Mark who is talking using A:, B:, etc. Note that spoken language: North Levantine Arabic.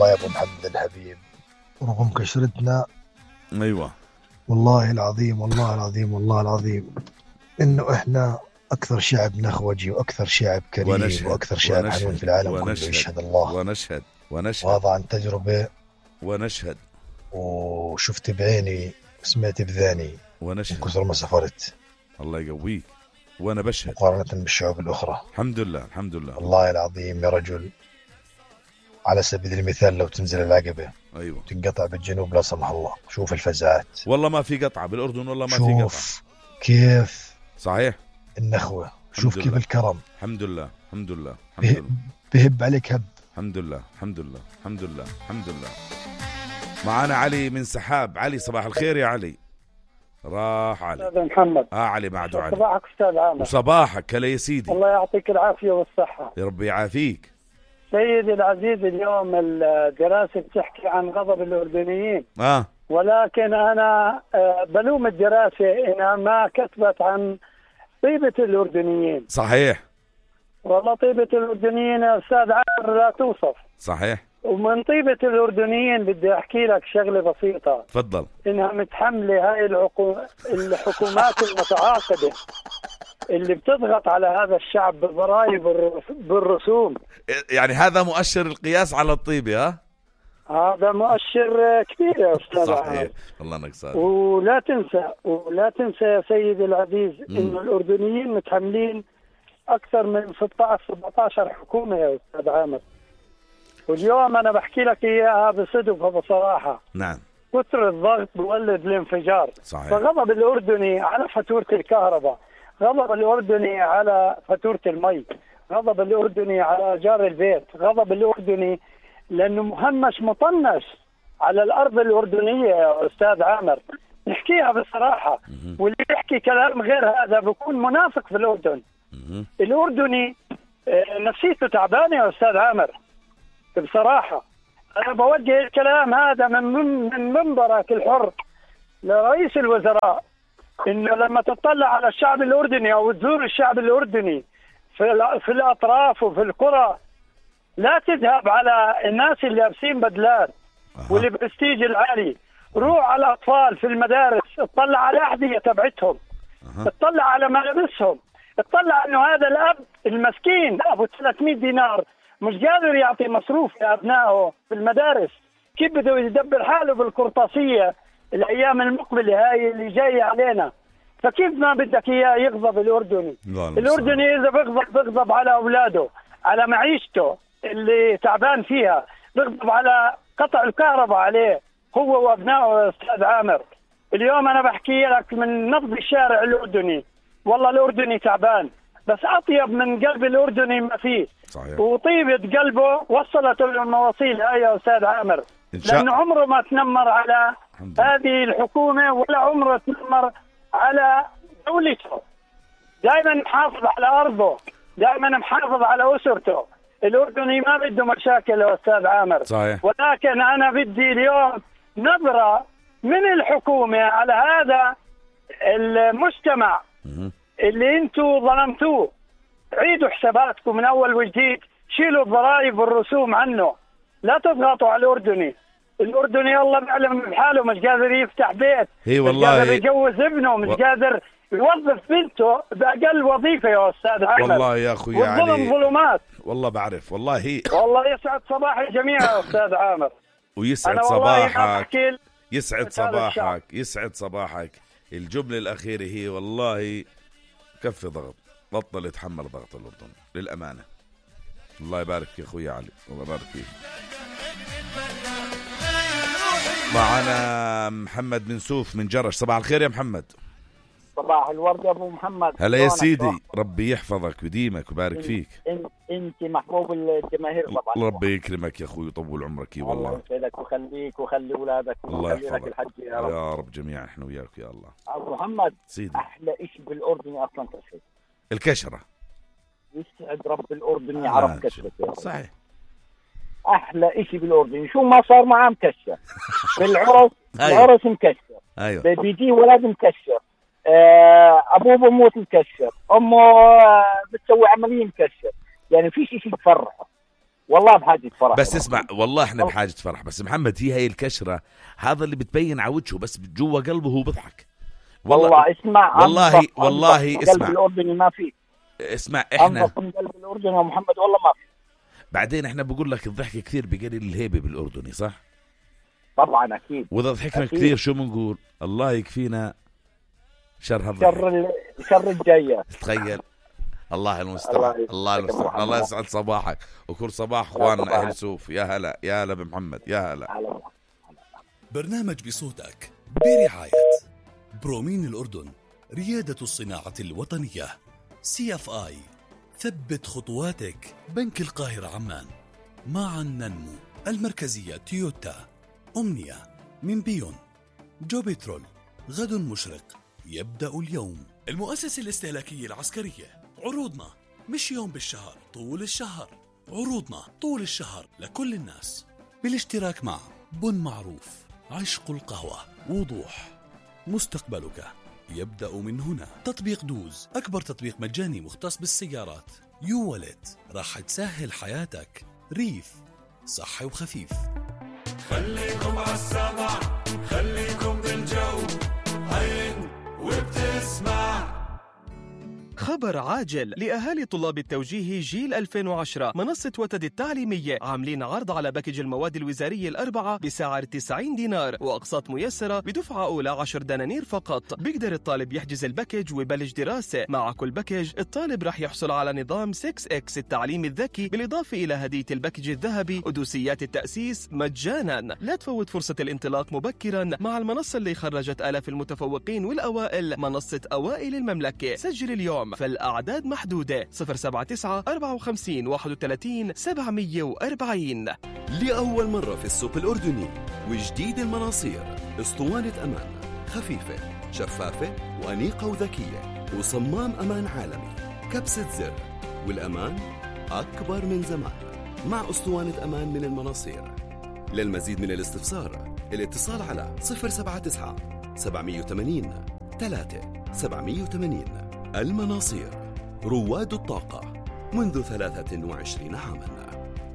A: والله يا ابو محمد الحبيب، رغم كشرتنا
B: ايوه
A: والله العظيم والله العظيم والله العظيم انه احنا اكثر شعب نخوجي واكثر شعب كريم واكثر شعب حنون في العالم كله. يشهد الله
B: ونشهد
A: وهذا عن تجربة
B: ونشهد
A: وشفت بعيني وسمعت بذاني
B: ونشهد
A: من كثر ما سافرت.
B: الله يقويك وانا بشهد
A: مقارنة بالشعوب الاخرى.
B: الحمد لله الحمد لله.
A: والله العظيم يا رجل، على سبيل المثال لو تنزل العقبة
B: ايوه
A: تنقطع بالجنوب لا سمح الله، شوف الفزعات.
B: والله ما في قطعة بالأردن، والله ما في قطعة.
A: شوف كيف
B: صحيح
A: النخوة، شوف كيف الكرم.
B: الحمد لله الحمد لله الحمد لله.
A: بهب عليك هب.
B: الحمد لله الحمد لله الحمد لله الحمد لله. معنا علي من سحاب. علي صباح الخير يا علي. راح علي.
C: أستاذ محمد.
B: علي بعده علي.
C: صباحك أستاذ عامر.
B: وصباحك هلا يا سيدي.
C: الله يعطيك العافية والصحة.
B: يا رب يعافيك.
C: سيدي العزيز، اليوم الدراسة بتحكي عن غضب الأردنيين. ولكن أنا بلوم الدراسة إنها ما كتبت عن طيبة الأردنيين.
B: صحيح.
C: والله طيبة الأردنيين يا أستاذ عامر لا توصف.
B: صحيح.
C: ومن طيبة الأردنيين بدي أحكي لك شغلة بسيطة.
B: تفضل.
C: إنها متحملة هاي الحكومات المتعاقدة اللي بتضغط على هذا الشعب بالضرائب بالرسوم.
B: يعني هذا مؤشر القياس على الطيبة.
C: هذا مؤشر كبير يا أستاذ.
B: صحيح. الله نكسر.
C: ولا تنسى يا سيدي العزيز إنه الأردنيين متحملين أكثر من 16-17 حكومة يا أستاذ عامر. واليوم أنا بحكي لك إياها بصدق وبصراحة.
B: نعم.
C: كثر الضغط بولد الانفجار.
B: صحيح.
C: فغضب الأردني على فاتورة الكهرباء، غضب الأردني على فاتورة المي، غضب الأردني على جار البيت، غضب الأردني لأنه مهمش مطنش على الأرض الأردنية يا أستاذ عامر. نحكيها بصراحة. واللي يحكي كلام غير هذا بيكون منافق في الأردن. الأردني نفسيته تعبانة يا أستاذ عامر بصراحة. أنا بوجه الكلام هذا من منبرك الحر لرئيس الوزراء، إنه لما تطلع على الشعب الأردني أو تزور الشعب الأردني في الأطراف وفي القرى، لا تذهب على الناس اللي لابسين بدلات والبرستيج العالي. روح على الأطفال في المدارس، اطلع على الأحذية تبعتهم، اطلع على ملابسهم، اطلع إنه هذا الأب المسكين أبو 300 دينار مش قادر يعطي مصروف لأبنائه في المدارس. كيف بده يدبر حاله بالقرطاسية الأيام المقبلة هاي اللي جاية علينا؟ فكيف ما بدك إياه يغضب الأردني؟ الأردني إذا بغضب على أولاده، على معيشته اللي تعبان فيها، بغضب على قطع الكهرباء عليه هو وأبنائه يا أستاذ عامر. اليوم أنا بحكي لك من نبض الشارع الأردني، والله الأردني تعبان، بس أطيب من قلب الأردني ما فيه.
B: صحيح.
C: وطيبة قلبه وصلته للمواصيل هاي يا أستاذ عامر، لأنه عمره ما تنمر على هذه الحكومة ولا عمره تنمر على دولته. دائما محافظ على أرضه، دائما محافظ على أسرته. الأردني ما بده مشاكل يا أستاظ عامر.
B: صحيح.
C: ولكن أنا بدي اليوم نظرة من الحكومة على هذا المجتمع اللي انتوا ظلمتوه. عيدوا حساباتكم من أول وجديد، شيلوا الضرائب والرسوم عنه، لا تضغطوا على الأردني. الأردني الله بيعلم بحاله، مش قادر يفتح بيت،
B: والله
C: مش قادر يجوز ابنه، مش قادر يوظف بنته بأقل وظيفة يا أستاذ أحمد.
B: والله يا أخوي علي
C: والظلم ظلمات.
B: والله بعرف والله
C: والله يسعد صباح الجميع يا أستاذ عامر.
B: ويسعد صباحك، يسعد صباحك، يسعد صباحك. الجملة الأخيرة هي والله كف ضغط، بطل يتحمل ضغط الأردن للأمانة. الله يبارك يا أخوي علي، الله يبارك فيك. معنا محمد بن سوف من جرش. صباح الخير يا محمد.
D: صباح الورد يا ابو محمد.
B: هلا يا سيدي، ربي يحفظك ويديمك ويبارك فيك.
D: انت محبوب الجماهير طبعا.
B: ربي يكرمك يا اخوي ويطول عمرك. والله
D: الله يسعدك ويخليك وخلي اولادك وخلي لك الحج يا رب.
B: يا رب جميعا احنا وياك يا الله.
D: ابو محمد
B: سيدي،
D: احلى شيء بالاردن اصلا كشف
B: الكشره.
D: يسعد رب الاردن يعرف كشفته.
B: صحيح.
D: احلى شيء بالاردن شو ما صار معاه مكشر. بالعرس العرس مكشر.
B: ايوه.
D: بيجي ولد مكشر، ابوه بموت مكشر، امه بتسوي عمليه مكشر. يعني في شيء بفرحه. والله بحاجة فرح.
B: بس اسمع، والله احنا بحاجة فرح. بس محمد هي الكشرة هذا اللي بتبين على وجهه، بس جوا قلبه هو بضحك.
D: والله اسمع،
B: والله اسمع،
D: قلب الأردني ما في.
B: اسمع احنا
D: قلب الأردني يا محمد والله ما في.
B: بعدين احنا بقول لك الضحك كثير بقلل الهيبة بالأردني، صح؟
D: طبعا أكيد.
B: وإذا ضحكنا كثير شو بنقول؟ الله يكفينا شر
D: شر الجاية.
B: تخيل. الله المستعان. الله يسعد صباحك وكل صباح اخواننا اهل سوف. يا هلا بمحمد. يا هلا.
E: برنامج بصوتك برعاية برومين الأردن، ريادة الصناعة الوطنية. CFI، ثبت خطواتك. بنك القاهرة عمان، معا ننمو. المركزية تويوتا. أمنية من بيون. جوبيترول، غد مشرق يبدأ اليوم. المؤسسة الاستهلاكية العسكرية، عروضنا مش يوم بالشهر، طول الشهر. عروضنا طول الشهر لكل الناس، بالاشتراك مع بن معروف، عشق القهوة، وضوح. مستقبلك يبدأ من هنا. تطبيق دوز، أكبر تطبيق مجاني مختص بالسيارات. يو ولت، راح تسهل حياتك. ريف، صحي وخفيف.
F: خليكم عالسمع، خليكم بالجو، هين وبتسمع.
G: خبر عاجل لأهالي طلاب التوجيه جيل 2010. منصة وتد التعليمية عاملين عرض على باكج المواد الوزارية الأربعة بسعر 90 دينار، وأقساط ميسرة بدفعة أولى 10 دنانير فقط. بيقدر الطالب يحجز الباكج ويبلش دراسة. مع كل باكج الطالب رح يحصل على نظام 6X التعليم الذكي، بالإضافة إلى هدية الباكج الذهبي ودوسيات التأسيس مجانا. لا تفوت فرصة الانطلاق مبكرا مع المنصة اللي خرجت آلاف المتفوقين والأوائل، منصة أوائل المملكة. سجل اليوم، فالأعداد محدودة. 079 54 31 740.
H: لأول مرة في السوق الأردني وجديد المناصير، اسطوانة أمان خفيفة شفافة وأنيقة وذكية، وصمام أمان عالمي، كبسة زر، والأمان أكبر من زمان مع اسطوانة أمان من المناصير. للمزيد من الاستفسار الاتصال على 079 780 3780. المناصير، رواد الطاقة منذ 23 عاماً.